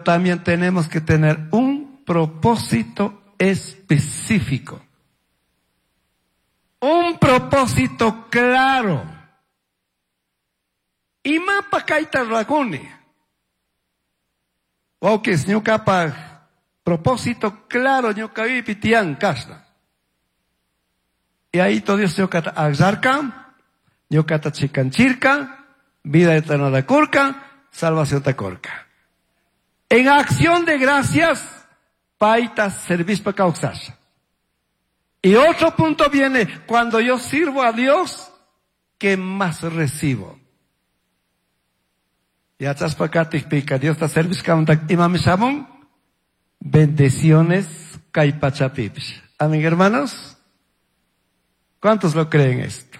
también tenemos que tener un propósito específico. Un propósito claro. Imapaj kaita ruracuni. Wauquis, ñucapaj propósito claro ñucapipi tiyan kashna. Y ahí todo Dios ñucata agllarca, ñucata chicanchirca, vida eterna da curca, salvación ta curca. En acción de gracias, paita servishpa kawsasha. Y otro punto viene, cuando yo sirvo a Dios, ¿qué más recibo? Yachashpa katikpika, Diosta servishkamanta imami shamun, bendiciones kay pachapipish. Amén, hermanos. ¿Cuántos lo creen esto?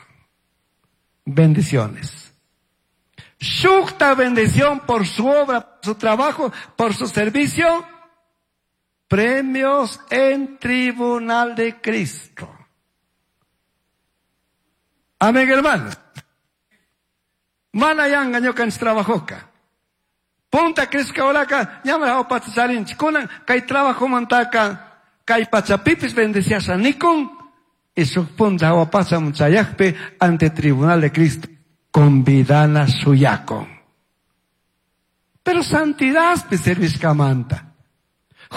Bendiciones. Shukta bendición por su obra, por su trabajo, por su servicio. Premios en tribunal de Cristo. Amén, hermanos. Mana yanga ñukanchik trabajoka. Punta crishka horaka, ñamara opacha charinchik. Kunan kay trabajomantaka, kay pachapipis bendeciasha nikun, y shuk punta jahua pachaman chayakpi ante tribunal de Cristo, convidana shuyakun. Pero santidadpi servishkamanta.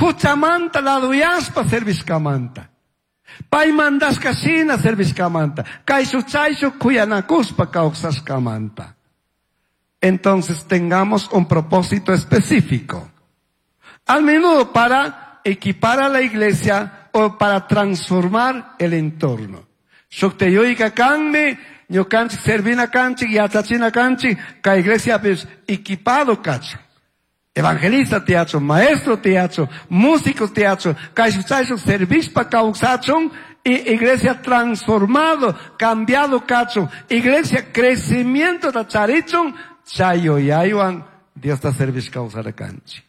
Huchamanta laduyashpa servishkamanta. Pay mandashka shina servishkamanta. Kayshuk chayshuk kuyanakushpa kawsashkamanta. Entonces tengamos un propósito específico. Al menudo para equipar a la iglesia o para transformar el entorno. Shukteyuika kanmi, ñukanchik servina kanchik, yachachina kanchik, ka iglesia pues equipado kacho. Evangelista tiacho, maestro tiacho, músico tiacho, kayshuk chayshuk servishpa kawsachun, y iglesia transformado, cambiado kacho, iglesia crecimiento ta charichun, chayo yaywan, Dios ta servish kawsara kanchik.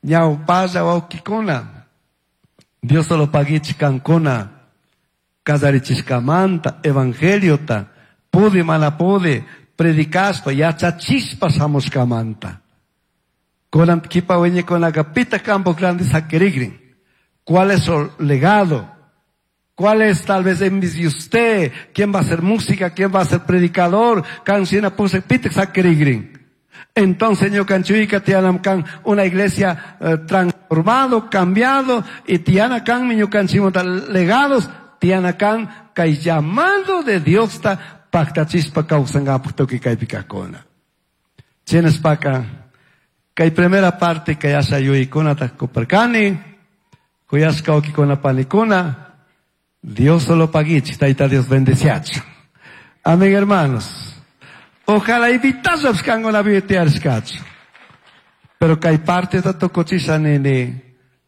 Ñawpalla wawkikuna, Dios solo paguichik kankuna, kallarichishkamanta, evangeliota, pude mana pude, predicashpa, yachachishpa shamushkamanta. Kunan kipa wiñaykunaka pita campo grande saquirigrin. ¿Cuál es su legado? ¿Cuál es tal vez en de usted? ¿Quién va a hacer música? ¿Quién va a ser predicador? Canción puse pita saquirigrin. Entonces, ñukanchika tiyanam kan una iglesia transformado, cambiado, y tiyana kan mi ñukanchimanta legados, tiyana kan kay llamado de Dios ta paktachispa kawsangapaj tukuy kaypi kajkuna. Chinaspaka, kay primera parte kay asha yuyaykunata kuparkani, kuyashka wawkikuna panikuna, Dios solo paguichik, Tayta Dios bendeciachu. Amén, hermanos. Ojalá invitashapish kankuna tiyarishkachu. Pero kay parte ta tukuchisha nini,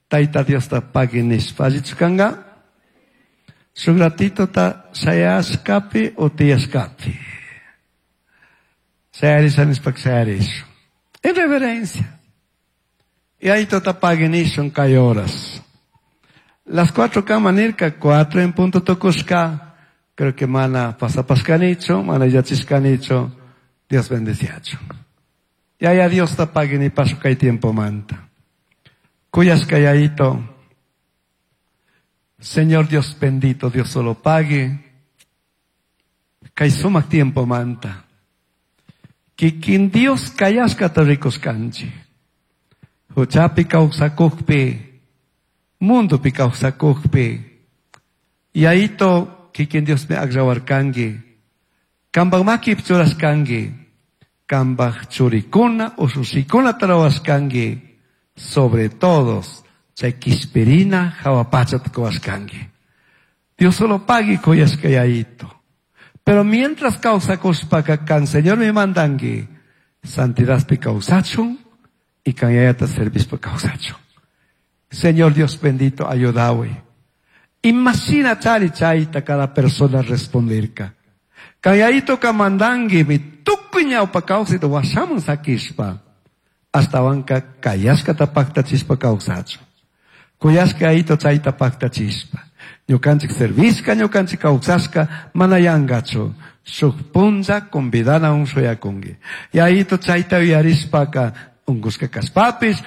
Tayta Diosta pagui nishpa. Allichu kanka? Shuk ratito ta shayashkapi o tiyashkapi. Shayarisha nishpaka shayarishun. En reverencia. Y ahí tota pagui nishun kay horas. Las 4 kama nirka, 4 en punto tukushka. Creo que mana pasapashkanichu, mana yachishkanichu. Dios bendeciachu. Yaya Dios ta pagui nipashun kay tiempo manta. Kuyashka yayito. Señor Dios bendito, Dios solo pague. Kay sumak tiempo manta. Kikin Dios kayashka ta rikushkanchik. Huchapi kawsakukpi, mundopi kawsakukpi. Yayito kikin Dios me agllawarkanki. Kambaj makipi churashkanki. Kambaj churikuna ushushikunata ruwashkanki. Sobre todos, chay kishpirina jahua pachata kuwashkanki. Dios solo pagui kuyashka yayito. Pero mientras kawsakushpaka kan Señor mi mandanki, santidadpi kawsachun y kan yayata servishpa kawsachun. Señor Dios bendito, ayudawi. Imagina chari chayta cada persona responderka. Kan yayito ka mandanki mi tukuy ñawpa kawsayta washaman sakishpa. Ashtawanka kayashkata paktachishpa kawsachun. Kuyashka yayito chayta paktachishpa. Ñukanchik servishka, ñukanchik kawsashka, mana yangachu. Shuk punlla convidana un shuyakunki. Yayito chayta uyarishpaka, unkushka kashpapis,